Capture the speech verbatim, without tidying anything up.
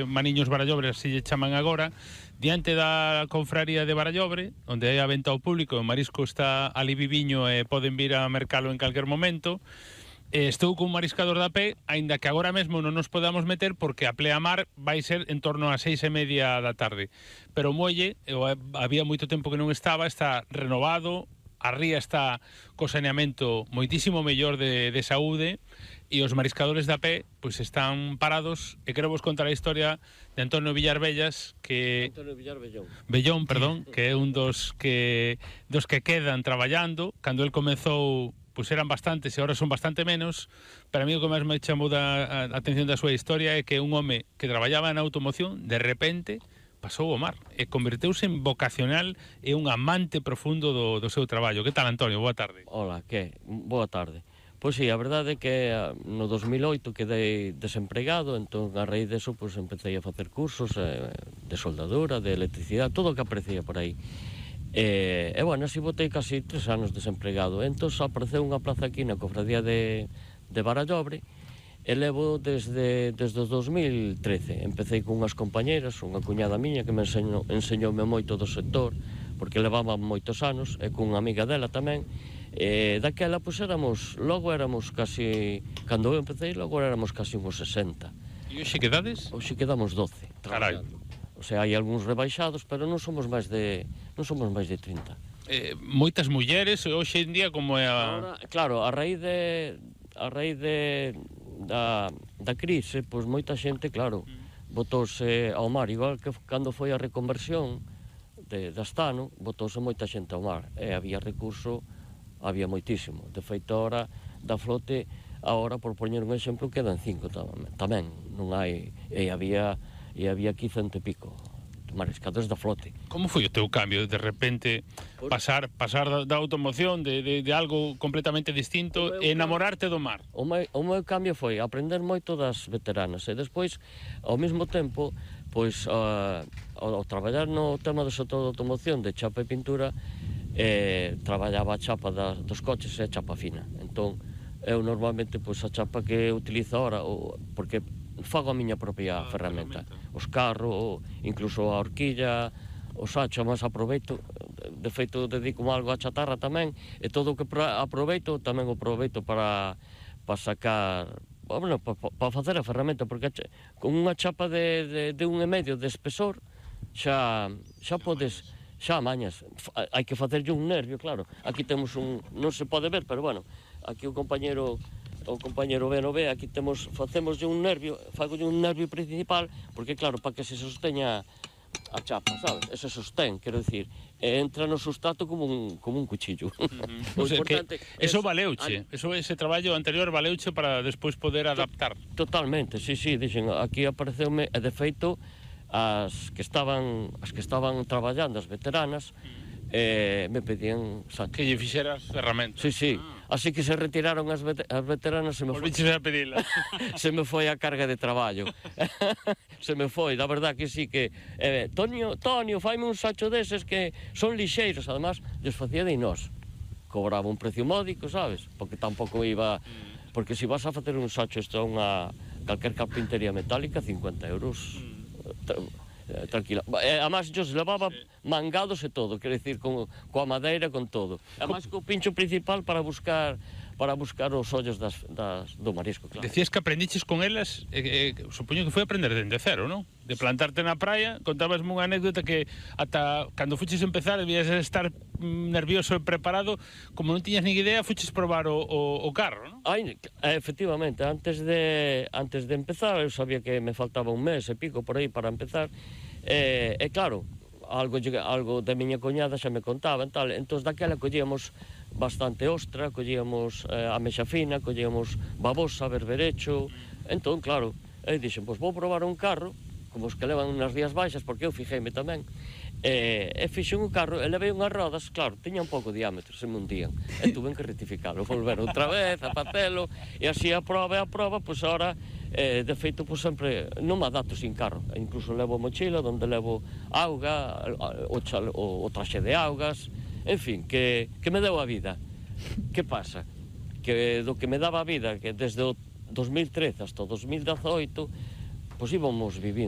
Maniños Barallobre, así lle chaman agora, diante da confraría de Barallobre, onde hai a venta ao público, o marisco está ali viviño e poden vir a mercalo en calquer momento. Eh, estou cun mariscador da pé, aínda que agora mesmo non nos podamos meter porque a pleamar vai ser en torno a seis e media da tarde. Pero o muelle, eu, había moito tempo que non estaba, está renovado, a ría está co saneamento moitísimo mellor de, de saúde, e os mariscadores da pé pois están parados, e quero vos contar a historia de Antonio Villar Bellas, que Antonio Villar Bellón. Bellón, perdón, que é un dos que dos que quedan traballando. Cando el comezou, pois eran bastantes e agora son bastante menos. Para mí o que máis me chamou da a atención da súa historia é que un home que traballaba na automoción, de repente pasou ao mar e converteuse en vocacional e un amante profundo do, do seu traballo. Que tal, Antonio? Boa tarde. Hola, que? Boa tarde. Pois sí, a verdade é que no dos mil oito quedei desempregado, entón a raíz deso pois empecé a facer cursos eh, de soldadura, de electricidade, todo o que aparecía por aí. E, e bueno, así botei casi tres anos desempregado. Entón apareceu unha plaza aquí na cofradía de, de Barallobre, e levo desde, desde o dos mil trece. Empecé con unhas compañeras, unha cuñada miña que me enseñou, enseñoume moito do sector, porque levaba moitos anos, e cunha amiga dela tamén. E daquela, pois éramos, logo éramos casi, cando eu empecé, logo éramos casi uns sesenta. E hoxe quedades? Hoxe quedamos doce. Carai. O sea, hai algúns rebaixados, pero non somos máis de, non somos máis de trinta. Eh, moitas mulleres, hoxe en día como é a... Ahora, claro, a raíz de, a raíz de, da, da crise, pois moita xente, claro, botouse ao mar, igual que cando foi a reconversión de, de Astano, botouse moita xente ao mar, e había recurso, había moitísimo. De feito, ahora, da flote, ahora, por poñer un exemplo, quedan cinco tamén, non hai, e había, e había aquí cento e pico mariscadores da flote. Como foi o teu cambio, de repente, pasar pasar da, da automoción, de, de, de algo completamente distinto, e enamorarte do mar? O meu, o meu cambio foi aprender moito das veteranas, e despois, ao mesmo tempo, pois, uh, ao, ao traballar no tema do sector de automoción, de chapa e pintura, eh, traballaba a chapa da, dos coches e a chapa fina. Entón, eu normalmente, pois, a chapa que utilizo ahora, o, porque fago a miña propia ah, ferramenta. Os carros, incluso a horquilla, o sacho, mas aproveito, de feito dedico algo a chatarra tamén, e todo o que aproveito tamén o aproveito para, para sacar, bueno, para, para facer a ferramenta, porque con unha chapa de, de, de un e medio de espesor xa, xa podes, xa mañas, hai que facerlle un nervio, claro. Aquí temos un, non se pode ver, pero bueno, aquí o compañero o compañero Ben o ve, aquí temos, facemos un nervio, fagolle un nervio principal, porque claro, para que se sosteña a chapa, sabes? Ese sostén, quero dicir, entra no sustrato como un, como un cuchillo. Uh-huh. O sea, que eso valeuche, eso, ese traballo anterior valeuche para despois poder adaptar. Totalmente, sí, sí, dixen, aquí apareceume, e de feito, as que estaban, as que estaban traballando, as veteranas, eh, me pedían sacho. Que lle fixeras ferramentas. Sí, sí. Ah. Así que se retiraron as, vet as veteranas, se me foi... a pedila. Se me foi a carga de traballo. Se me foi, da verdad que sí que... Eh, Tonio, Tonio, faime un sacho deses que son lixeiros, además, lles facía de nós. Cobraba un precio módico, sabes? Porque tampouco iba... Porque se vas a facer un sacho isto a unha calquer carpintería metálica, cincuenta euros... Mm. Eh, tranquila. Eh, además, yo se levaba sí. mangados e todo, quero dicir, con, coa madeira, con todo. Además, co pincho principal para buscar para buscar os ollos das, das, do marisco, claro. Decías que aprendiches con elas, eh, eh, supoño que foi aprender dende cero, non? De plantarte na praia, contabasme unha anécdota que ata cando fuches empezar debías estar nervioso e preparado, como non tiñas ni idea, fuches probar o, o, o carro, non? Ai, efectivamente, antes de antes de empezar, eu sabía que me faltaba un mes e pico por aí para empezar, e, e claro, algo, algo da miña coñada xa me contaban, tal, entón daquela collíamos bastante ostra, collíamos eh, amexa fina, collíamos babosa, berberecho, entón, claro, eu dixen, pois vou probar un carro, como os que levan nas rías baixas, porque eu fijéime tamén, e, e fixen un carro, e levei unhas rodas, claro, tiña un pouco de diámetro, se me hundían, e tuve que rectificarlo, volver outra vez, a facelo, e así a prova e a prova, pois agora, eh, de feito, pois sempre, non me adapto sin carro, e incluso levo mochila, onde levo auga, o, chale, o, o traxe de augas, en fin, que, que me deu a vida. Que pasa? Que do que me daba a vida, que desde o dos mil trece hasta o dos mil dezaoito, pois íbamos vivindo.